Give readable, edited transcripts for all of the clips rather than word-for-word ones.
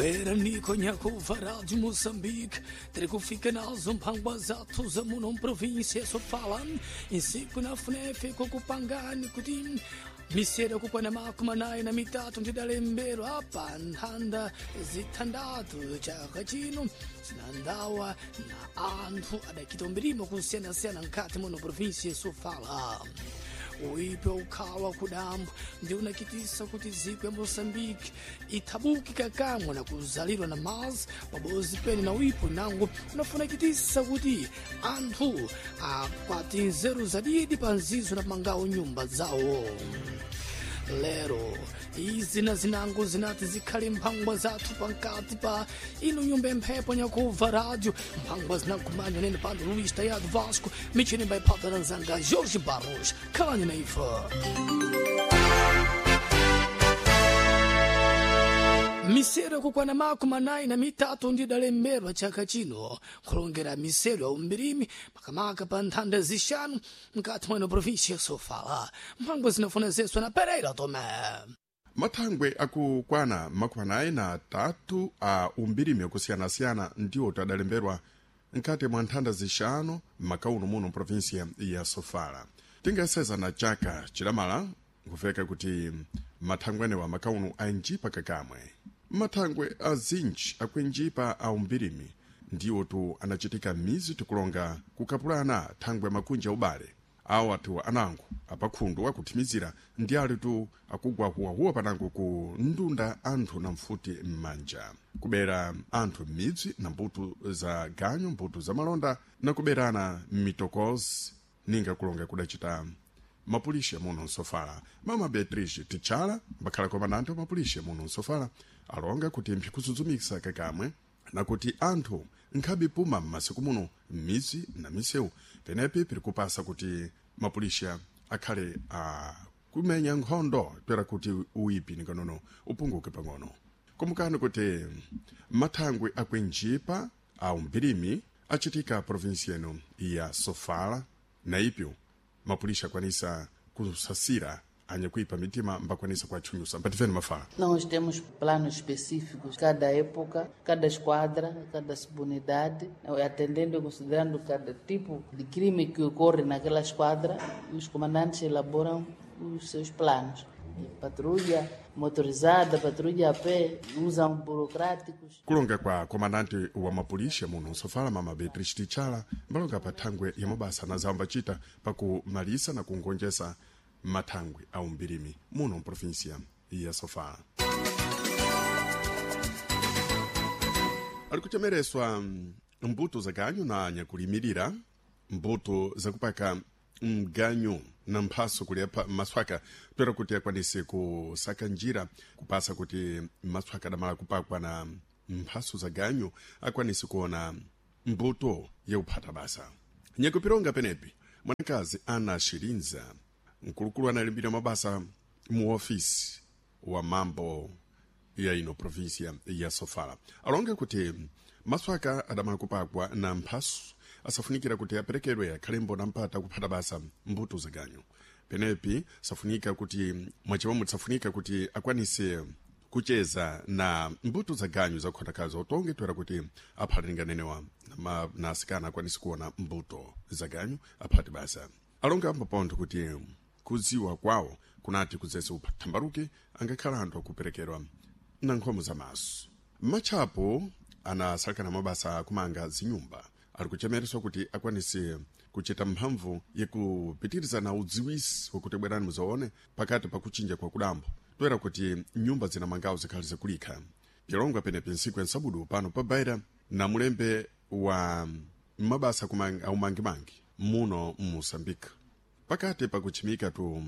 Beraniko nyakuva Rádio Moçambique, terikufika nazo mphangwa zathu za muno mprovíncia Sofala, insiku na FUNEF kukupangani kuti misero kukwana makumi anayi na mitatu ndidalembero apa nthanda zithandatu chaka chino zinandawa na anthu adakita umbirimo kusiyanasiyana mkhati muno província Sofala. Uipe ukhawa kudambo ndi unakitisa kuti dziko ya Moçambique ithabuki kakamwe na kuzalidwa na mazi pabozi pene na uipo nango unafunakitisa kuti anthu akwati nzeru zadidi pa nzizo na mangawo nyumba zawo. Lero izi na zinango zinati zikhale mphangwa zathu pankati pa ino nyumba emphepo nyakuva rádio mphangwa zinakumanya nene pano Luís Tayado Vasco michini mbaiphatana nzanga Jorge Barros khalani na ife. Misero yakukwana makumi anayi na mitatu ndidalemberwa chaka chino kulongera misero ya umbirimi makamaka pa nthanda zixanu mkati mweno província Sofala. Mphangwa zinafuna zeswa na Pereira Tomé. Mathangwe akukwana 43 a umbirimi okusiyana-siyana ndiwo tadalemberwa mkati mwa nthanda zixanu m'makauno muno província ya Sofala. Tingaseza na chaka chilamala nkufeka kuti mathangwe anewa makauno ainjipa kakamwe. Mathangwe azinji akuinjipa a umbirimi ndiwo tu anachitika mizi tikulonga kukapulana thangwe makunja ubale awo athu anango apakhundu akuthimizira ndi ali tu akugwa huwahuwa panango ku ndunda anthu na mfuti m'manja kubera anthu m'midzi na mbuto za ganyu mbuto za malonda na kuberana m'mitokozi ninga kulonga kudacita mapulisha muno nsofala. Mama Beatrice Tichala mbakhala komandante wa mapulisha muno nsofala alonga kuti mphikuzudzumisa kakamwe na kuti anthu nkhabe puma m'masiku muno m'midzi na misewu penepi piri kupasa kuti mapulisha akhale a kumenya nkhondo toera kuti uipi nikanono upunguke pang'ono. Kumukani kuti mathangwe akuinjipa a umbirimi achitika província ino ya Sofala na ipyo mapulisha akwanisa kusasira anyakuipa mitima mbakwanisa kuatchunyusa mpatifeni mafala. Nós temos planos específicos, cada época, cada esquadra, cada subunidade, atendendo e considerando cada tipo de crime que ocorre naquela esquadra, os comandantes elaboram os seus planos. Patrulha motorizada, patrulha a pé, usam burocráticos. Kulonga kwa komandante wa mapulisha muno nsofala mama Beatrice Tichala mbalonga pa thangwe ya mabasa na zambachita pakumalisa na kungonjesa mathangwe a umbirimi muno mprovinsia ya Sofala. Ali kuchemereswa mbuto za ganyu na nyakulimirira mbuto zakupaka mganyu na mphaso kuliapa maswaka toera kuti akwanise kusaka njira kupasa kuti maswaka adamala kupakwa na mphaso za ganyu akwanise kuona mbuto yakuphata basa. Nyakupironga penepi mwanakazi Ana Shirinza mkulukulu analimbira mabasa mu ofisi wa mambo ya ino província ya Sofala alonga kuti maswaka adamala kupakwa na mphaso asafunikira kuti aperekedwe akhalembo na mpata kuphata basa mbuto za ganyu penepi safunika kuti mwachimomwe safunika kuti akwanise kucheza na mbuto za ganyu zakukhotakaza utonge toera kuti aphatilinganenewa na asikana akwanise kuona mbuto za ganyu aphati basa. Alonga ambapontho kuti kudziwa kwawo kunati kudzese upathambaluke angakhala anthu akuperekedwa na nkhomo za maso. Matchapo anasalekana mabasa akumanga zinyumba ali kuchemereswa kuti akwanise kuchita mphamvu yakupitiriza na udziwisi wakuti bwerani muzaone pakati pakuchinja kwa kudambo toera kuti nyumba zinamangawo zikhali zakulikha. Pilongwa penepi ntsiku ya nsabudu pano pa Baira na mulembe wa mabasa aumangimangi muno mMoçambique pakati pakuchimika tu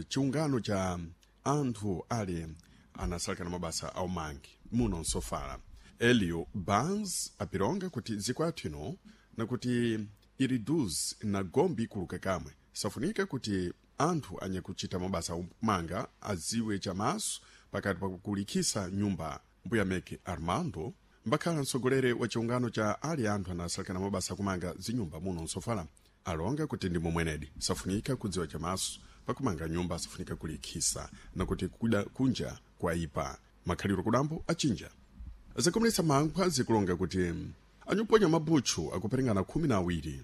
chiungano cha anthu ali anasalekana mabasa aumangi muno nsofala. Elio Barnes apironga kuti dziko athu ino nakuti iriduz na gombi ikuluka kamwe safunika kuti anthu anyakuchita mabasa aumanga adziwe chamaso pakati pakulikhisa nyumba. Mbuya Meke Armando mbakhala mtsogoleri wa chiungano cha ali anthu anasalekana mabasa akumanga zinyumba muno nsofala alonga kuti ndi momwenedi safunika kudziwa chamaso pakumanga nyumba safunika kulikhisa nakuti kuda kunja kwaipa makhaliro kudambo achinja. Zakomelesa mankhwa zikulonga kuti anyuponya mabutchu akuperingana 12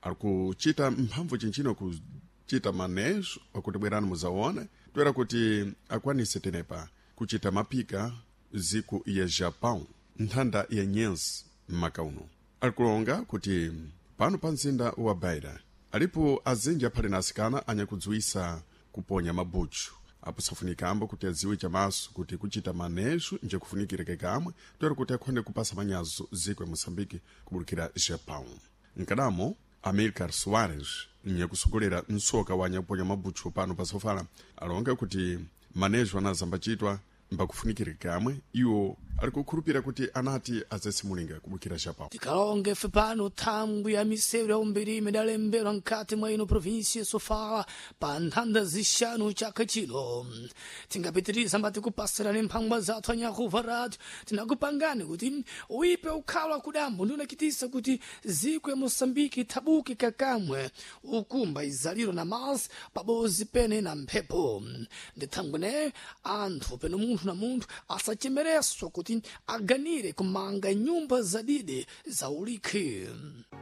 ari kuchita mphamvu chinchino kuchita manejo akuti bwerani muzaone toera kuti akwanise tenepa kuchita mapika ziku ya Japão nthanda ya nyenzi mmaka uno. Ali kulonga kuti pano pa mzinda wa Beira alipo azinji aphale na asikana anyakudziwisa kuponya mabutchu apo safunikambo kuti adziwe chamaso kuti kuchita manejo nje kufunikira kamwe toera kuti akhonde kupasa manyazo ziko ya Moçambique kubulukira Japão. Nkadamo Amilcar Soares nyakusogolera msoka wa nyakuponya mabutchu pano pa Sofala alonga kuti manejo anazambachitwa mbakufunikira kamwe iwo ali kukhulupira kuti anati azesimulinga kubukira Japão. Tikalonge fe pano thangwi ya misewu ya umbiri idalembedwa mkati mwa ino provinsi ya Sofala pa nthanda zixanu chaka chino. Tingapitiriza mbati kupasirani mphangwa zathu anyakuva radio tinakupangani kuti uipe ukhala kudambo ndi unachitisa kuti ziko ya Moçambique ithabuke kakamwe ukumba izaliro na masi pabozi pene na mphepo. Ndi thangwi ne anthu peno munthu na munthu asachemereswa kuti aganire kumanga nyumba zadide za ulikhi.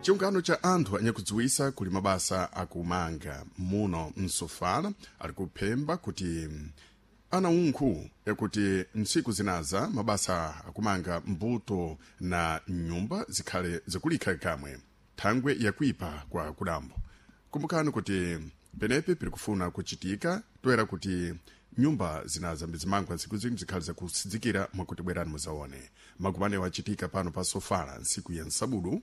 Chiungano cha anthu anyakudziwisa kuli mabasa akumanga muno msofala ali kuphemba kuti ana unkhu yakuti ntsiku zinaza mabasa akumanga mbuto na nyumba zikhale zikulikha kamwe thangwe yakuipa kwa kudambo. Kumbukani kuti penepe piri kufuna kuchitika toera kuti nyumba zinaza mbizimangwa ntsiku zimwe zikhale zakusidzikira mwakuti bwerani muzaone. Makumano achitika pano pa Sofala ntsiku ya nsabudu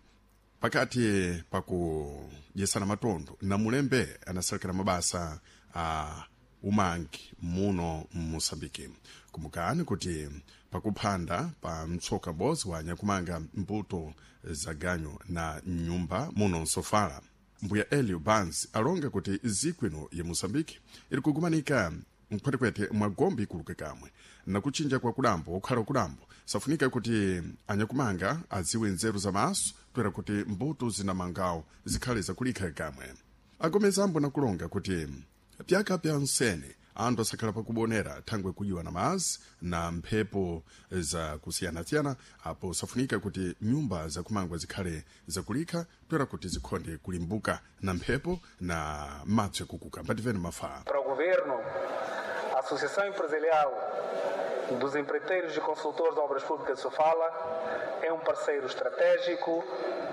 pakati pakudyesana matondo na mulembe anasalekera mabasa a umangi muno mMoçambique. Kumbukani kuti pakuphanda pa mtsoka m'bodzi wa nyakumanga mbuto za ganyu na nyumba muno msofala mbuya Elio Banz alonga kuti ziko ino ya Moçambique iri kugumanika mkhwetekwete mwa gombe ikuluke kamwe na kuchinja kwa kudambo okhala kudambo safunika kuti anyakumanga adziwe nzeru za maso toera kuti mbuto zinamangawo zikhale zakulikha kamwe. Agomezambo nakulonga kuti pyaka pya nsene anthu asakhala pakubonera thangwe kujiwa na mazi na mphepo zakusiyanasiyana apo safunika kuti nyumba zakumangwa zikhale zakulikha toera kuti zikhonde kulimbuka na mphepo na madzi akukuka. Mbativeni mafaa. Para o governo, a Associação Empresarial dos Empreiteiros e Consultores de Obras Públicas de Sofala é um parceiro estratégico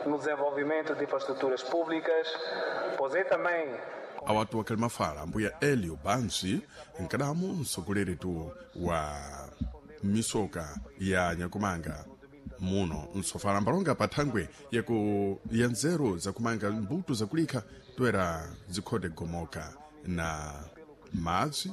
no desenvolvimento de infraestruturas públicas, pois é também awatu wakali mafala mbuya Elio Banzi nkadamu msogoleri wa misoka ya nyakumanga muno msofala mbalonga pa thangwe yaku ya nzeru zakumanga mbuto zakulikha toera zikhonde gomoka na madzi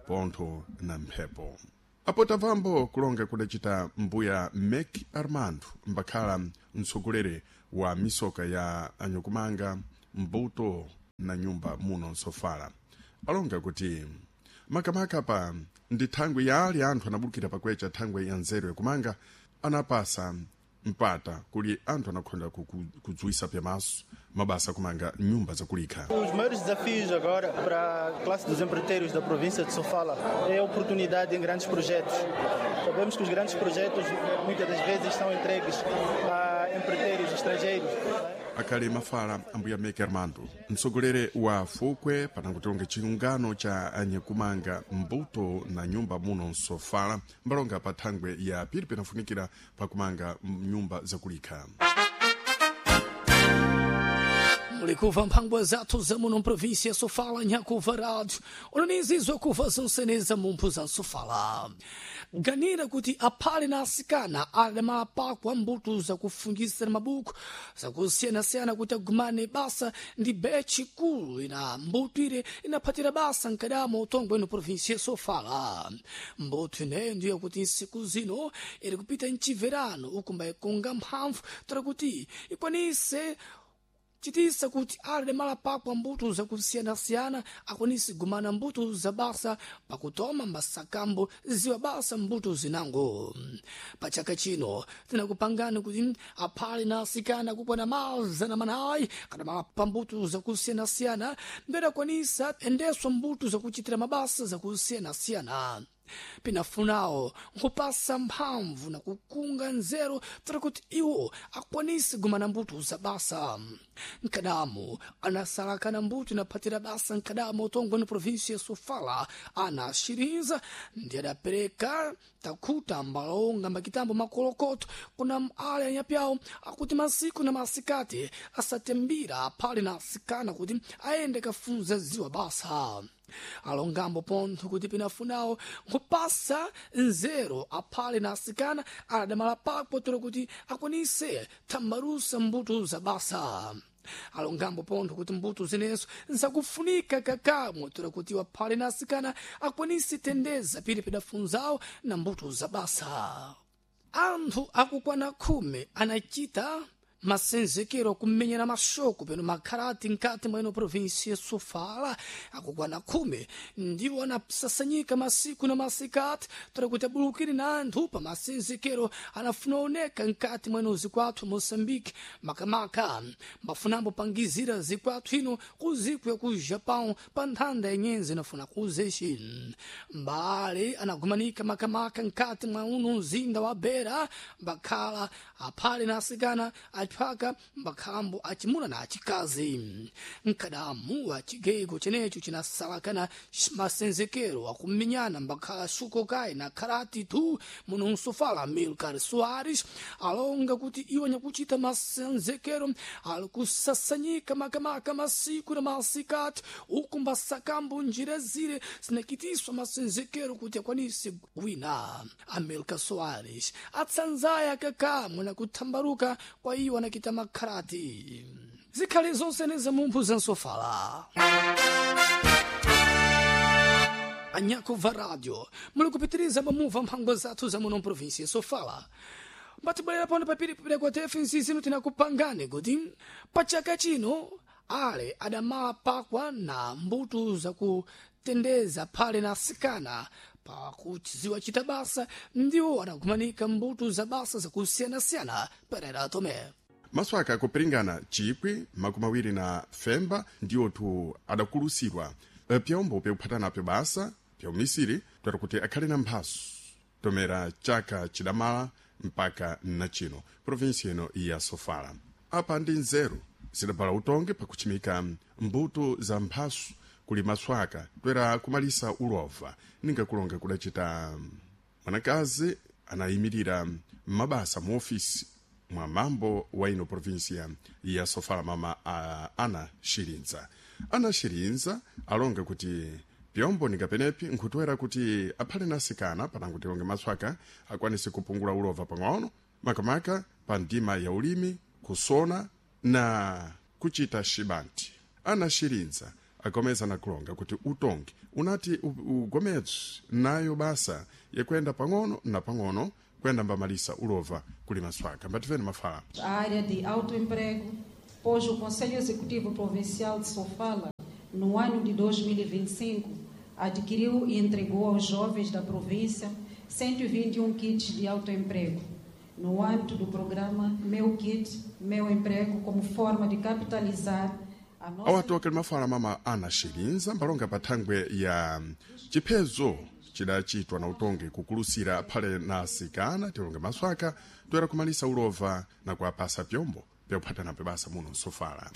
pontho na mphepo. Apo tamvambo kulonga kudacita mbuya Mek Armando mbakhala mtsogoleri wa misoka ya anyakumanga mbuto na nyumba muno msofala alonga kuti makamaka pa ndi thangwe ya ali anthu anabulukira pakwecha thangwe ya nzeru yakumanga anapasa mpata kuli anthu anakhonda kudziwisa pyamaso mabasa akumanga nyumba zakulikha. Os maiores desafios agora para a classe dos empreiteiros da província de Sofala é a oportunidade em grandes projetos. Sabemos que os grandes projetos muitas das vezes são entregues a empreiteiros estrangeiros. Akali mafala ambuya Meke Armando mtsogoleri wa fukwe panankutilonga chiungano cha anyakumanga mbuto na nyumba muno msofala mbalonga pa thangwe ya pili pinafunikira pakumanga nyumba zakulikha. Mulikuva mphangwa zathu za muno mprovinsia Sofala nyakuva rádio onanizizwa kuva zonseneza mumphu za Sofala. Ganira kuti aphale na asikana ali mapako a mbuto zakufungisira mabuku zakusiyanasiyana kuti agumane basa ndi bechi kulu ina mbuto ire inaphatira basa nkadamo utongwe ino provinsia Sofala. Mbuto ineyo ndiyo kuti nsiku zino iri kupita mchiverano ukumba ikunga mphamvu tora kuti ikwanise chitisa kuti ali malapakwa mbuto zakusiyanasiyana akwanise gumana mbuto za basa pakutoma masakambo ziwa basa mbuto zinango. Pa chaka chino tinakupangani kuti aphale na asikana kukwana 400 kana malapa mbuto zakusiyanasiyana mbere akwanisa endeswa mbuto zakuchitira mabasa zakusiyanasiyana. Pinafunawo nkupasa mphamvu na kukunga nzeru tara kuti iwo akwanise gumana mbuto za basa. Nkadamu anasalakana mbuto inaphatira basa nkadamu utongwe ni provinsi ya Sofala ana Shirinza ndi adapereka takhuta mbalonga makitambo makolokoto kuna ale anyapyawo akuti masiku na masikati asatembira phale na asikana kuti ayende kafunza ziwa basa. Alongambo pontho kuti pinafunawo nkupasa nzeru aphale na asikana adamala pakpo tero kuti akwanise thambalusa mbuto za basa. Alongambo pontho kuti mbuto zinezo nzakufunika kakamwe tero kuti waphale na asikana akwanise tendeza pili pidafunzawo na mbuto za basa. Anthu akukwana 10 anachita masenzekero kumenyera masoko peno makhalati nkati mwa ino provinsi ya Sofala. Akukwana 10 ndiwo anasasanyika masiku na masikati tora kuti abulukire na anthu pa masenzekero anafuna oneka nkati mwa ino zikwathu Moçambique, makamaka mafunambo pangizira zikwathu ino ku ziko ya ku Japão pa nthanda ya nyenzi inafuna kuzexi. Mbale anagumanika makamaka nkati mwa uno mzinda wa Beira, mbakhala aphale na asikana aphaka mbakhambo achimuna na achikazi. Nkadamu wa chigego chenecho chinasalakana masenzekero akumenyana mbakhala shukokai na karate tu muno msofala. Milcar Soares alonga kuti iwo nyakuchita masenzekero ali kusasanyika makamaka masiku na masikati uku mbasakambo njira zire zinakitiswa masenzekero kuti akwanise wina. Amilcar Soares atsanzaya kakamwe na kuthambaruka kwa iwo anakita makhalati. Zikhale zonse nezamumphu za Nsofala. Anyakuva radio muli kupitiriza mamuva mphango zathu za muno mprovinsi ya Sofala. Mbatibwerera pano papiri kwa TFNC zino tinakupangani kuti pa chaka chino ale adamala pakwa na mbuto zakutendeza phale na asikana pakuchiziwa chita basa ndiwo adagumanika mbuto za basa zakusiyanasiyana. Perera Tome. Maswaka akupiringana 20,025 ndiwotu adakulusidwa pyombo pyakuphatanapo basa pya umisiri twera kuti akhale na mphaso tomera chaka chidamala mpaka nachino provinsi ino ya Sofala. Apa ndi nzeru zidabala utonge pakuchimika mbuto za mphaso kuli maswaka twera kumalisa ulova ninga kulonga kudacita mwanakazi anayimirira mabasa mu ofisi mwa mambo wa ino provinsia ya Sofala, mama Ana Shirinza. Ana Shirinza alonga kuti pyombo ningapenepi nkhutwera kuti aphale nasikana panango tilonge maswaka akwanise kupungula ulova pang'ono makamaka pa ndima ya ulimi, kusona na kuchita xibanti. Ana Shirinza agomeza na kulonga kuti utongi unati ugomedzi nayo basa yakwenda pang'ono na pang'ono kwenda mbamalisa ulova kuli maswaka. Mbativeni mafala. A área de autoemprego, pois o Conselho Executivo Provincial de Sofala, no ano de 2025, adquiriu e entregou aos jovens da província 121 kits de autoemprego, no âmbito do programa Meu Kit, Meu Emprego, como forma de capitalizar a nossa... Awatu akali mafala mama Ana Shirinza mbalonga pa thangwe ya chiphezo chidachitwa na utongi kukulusira phale na asikana tilonge maswaka toera kumalisa ulova na kuapasa pyombo pyakuphatanapo basa muno Msofala.